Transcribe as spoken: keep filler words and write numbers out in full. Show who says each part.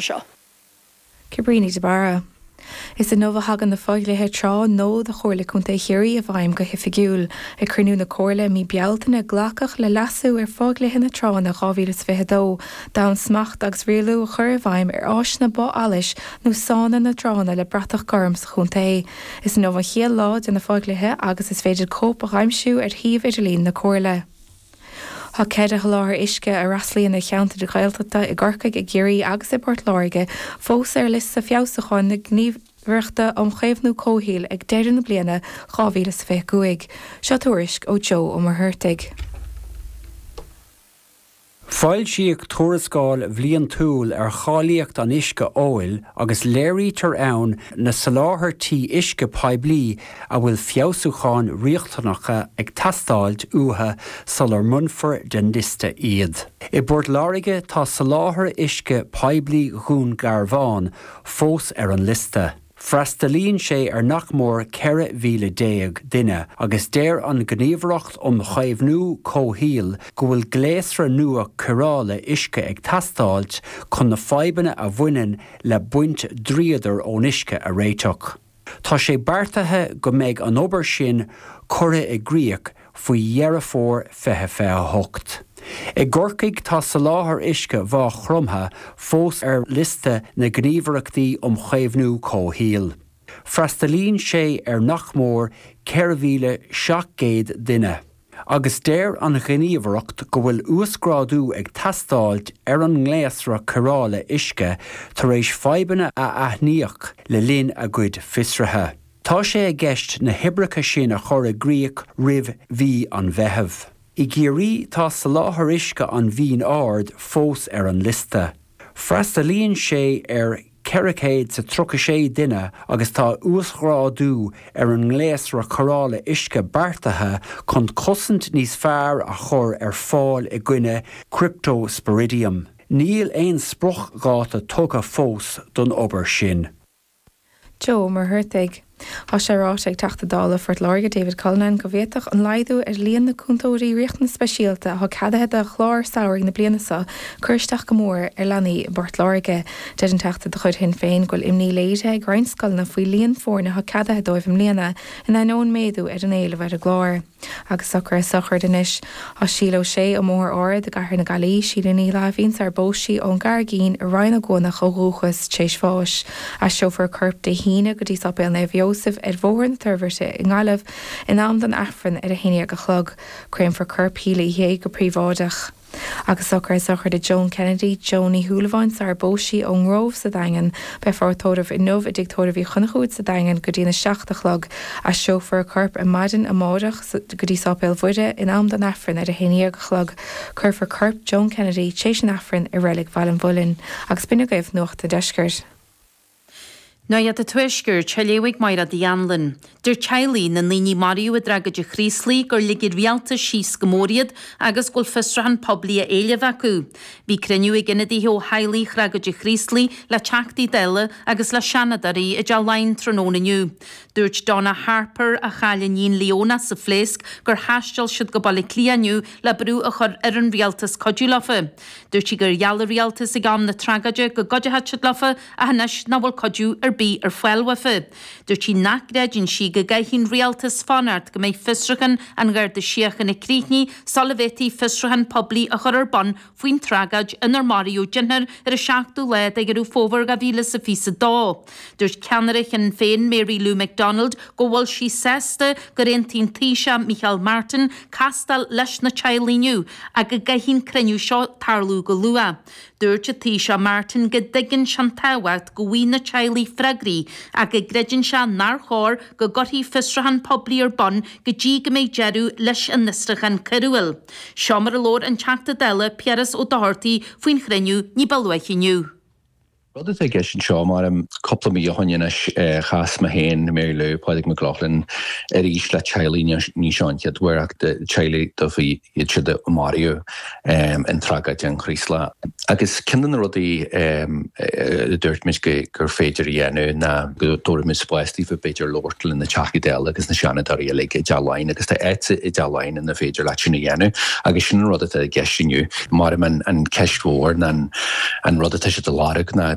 Speaker 1: seo.
Speaker 2: Cabríní de Barra. Is inniu a thagann na fodhlíthe trá nua do Chomhairle Contae Chiarraí i bhfeidhm go hoifigiúil. Ag cruinniú na Comhairle mí Bealtaine glacadh le leasú ar fhodhlíthe na tránna dhá mhíle is fiche a dó, d'fhonn smacht agus rialú a chur i bhfeidhm ar áiseanna bá allais nó sána na dtránna le bratach gorm sa chontae. Is inniu an chéad lá de na fodhlíthe agus is féidir cóip a aimsiú ar shuíomh idirlín na Comhairle. Tá ceithre sholáthar uisce a fhreastalaíonn ar cheantair Ghaeltachta i gCorcaigh, i gCiarraí agus i bPort Láirge fós ar liosta feabhsúcháin na Gníomhaireachta um Chaomhnú Comhshaoil ag deireadh na bliana dhá mhíle is fiche a cúig. Seo tuairisc ó Joe Ó Muircheartaigh.
Speaker 3: Foilsíodh tuarascáil bhliantúil ar cháilíocht an uisce óil agus léirítear ann na soláthairtí uisce poiblí a bhfuil feabhsúcháin riachtanacha ag teastáil uathu sular mbainfear den liosta iad. I bPort Láirge tá soláthar uisce poiblí Dhún Garbhán fós ar an liosta. Freastalaíonn sé ar nach mór ceithre mhíle déag duine agus deir an Ghníomhaireacht um Chaomhnú Comhshaoil go bhfuil gléasra nua cóireála uisce ag teastáil chun na fadhbanna a bhaineann le baint dríodair ón uisce a réiteach. Tá sé beartaithe go mbeidh an obair sin curtha i gcrích faoi Dheireadh Fómhair fiche fiche a hocht. I gCorcaigh tá soláthar uisce Mhaigh Chromtha fós ar liosta na ngníomhaireachtaí um chaomhnú comhshaoil. Freastalaíonn sé ar nach mór ceithre mhíle seacht gcéad duine, agus deir an Ghníomhaireacht go bhfuil uasghrádú ag teastáil ar an ngléasra cóireála uisce tar éis fadhbanna a aithníodh le linn a gcuid fiosruithe. Tá sé i gceist na hoibreacha sin a chur i gcrích roimh mhí an Mheithimh. I gCiarraí tá soláthar uisce an Mhín Aird fós ar an liosta. Freastalaíonn sé ar ceithre chéad is tríocha sé duine agus tá uasghrádú ar an ngléasra cóireála uisce beartaithe chun cosaint níos fearr a chur ar fáil i gcoinne Cryptosporidium. Níl aon spriocdháta tugtha fós don obair sin.
Speaker 2: Joe Ó Muircheartaigh. Tá sé ráite ag Teachta Dála Phort Láirge David Cullinane go bhféadfadh an laghdú ar líon na cúntóirí riachtanas speisialta atá ceadaithe do chlár samhraidh na bliana seo cur isteach go mór ar leanaí i bPort Láirge. Deir an Teachta de chuid Shinn Féin go bhfuil imní léirithe ag roinnt scoileanna faoi líon foirne atá ceadaithe dóibh i mbliana in ainneoin méadú ar an éileamh ar an gclár. Agus socruithe sochraide anois. Tá Síle O'Shea ó mBóthar Ard i gCathair na Gaillimhe, Síle Ní Láimhín sar phós sí ón gCarraigín i Rinn Ó gCuanach ó dhúchas tar éis bháis. Aistreofar a corp Dé hAoine go dtí Sáipéal Naomh Iósaf ar Bhóthar na Toirbhirte i nGaillimh in am don Aifreann ar a haon déag a chlog. Créamfar corp Shíle Uí Shé go príobháideach. Agus socruithe sochraide Joan Kennedy, Joan Ní Shúilleabháin sar phós sí ón nGrove sa Daingean. Beifear á tórramh inniu i dTigh Tórraimh Uí Chonchúir sa Daingean go dtína seacht a chlog. Aistreofar a corp ar maidin amárach go dtí Sáipéal Mhuire in am don Aifreann ar a haon déag a chlog. Cuirfear corp Joan Kennedy tar éis an Aifrinn i Reilig Bhaile an Mhuilinn. Agus b'in agaibh Nuacht an Deiscirt.
Speaker 4: Nuacht an Tuaiscirt, á léamh ag Máire Uí Anluain. Deir teaghlaigh na ndaoine a maraíodh i dtragóid an Chraoslaigh gur lig an rialtas síos go mór iad agus go bhfuil fiosrúchán poiblí á éileamh acu. Bhí cruinniú ag ionadaithe ó theaghlaigh thragóid an Chraoslaigh le Teachtaí Dála agus le Seanadóirí i dTeach Laighean tráthnóna inniu. Dúirt Donna Harper, a chaill a níon Leona sa phléasc, gur thaistil siad go Baile Átha Cliath inniu le brú a chur ar an rialtas cuidiú leofa. Dúirt sí gur gheall an rialtas ag am na tragóide go gcuideodh siad leofa ach anois nach bhfuil cuidiú ar bith ar fáil uafa. Dúirt sí nach gcreideann sí go gcaithfidh an rialtas fanacht go mbeidh fiosrúchán an Gharda Síochána críochnaithe sula bhféadfaí fiosrúchán poiblí a chur ar bun faoin tragóid inar maraíodh deichniúr ar an seachtú lá de Dheireadh Fómhair dhá mhíle is a fiche a dó. Dúirt ceannaire Shinn Féin Mary Lou McDonald go bhfuil sí sásta gur aontaigh an Taoiseach Micheál Martin castáil leis na teaghlaigh inniu ach go gcaithfidh an cruinniú seo tarlú go luath. Dúirt an Taoiseach Martin go dtuigeann sé an tábhacht go bhfaighidh na teaghlaigh freagraí ach go gcreideann sé nár chóir go gcuirfí fiosrúchán poiblí ar bun go dtí go mbeidh deireadh leis an fhiosrúchán coiriúil. Seo mar a labhair an Teachta Dála Piaras Ó Dochartaigh faoin chruinniú ní ba luaithe inniu.
Speaker 5: Rud atá i gceist anseo mar cúpla mí ó shin anois chas mé féin, Mary Lou, Pádraig Mac Lochlainn arís le teaghlaigh ní seo an chéad uair ach teaghlaigh dóibh iad siúd a maraíodh in tragóid an Chraoslaigh. Agus ceann de na rudaí a dúirt muid gur féidir a dhéanamh ná go dtabharfaidh muid spás daofa b'fhéidir labhairt le na Teachtaí Dála agus na Seanadóirí uilig i dTeach Laighean agus tá áit i dTeach Laighean ina féidir leat sin a dhéanamh agus sin an rud atá i gceist inniu. Mar an ceist mhór ná an rud atá siad a lorg ná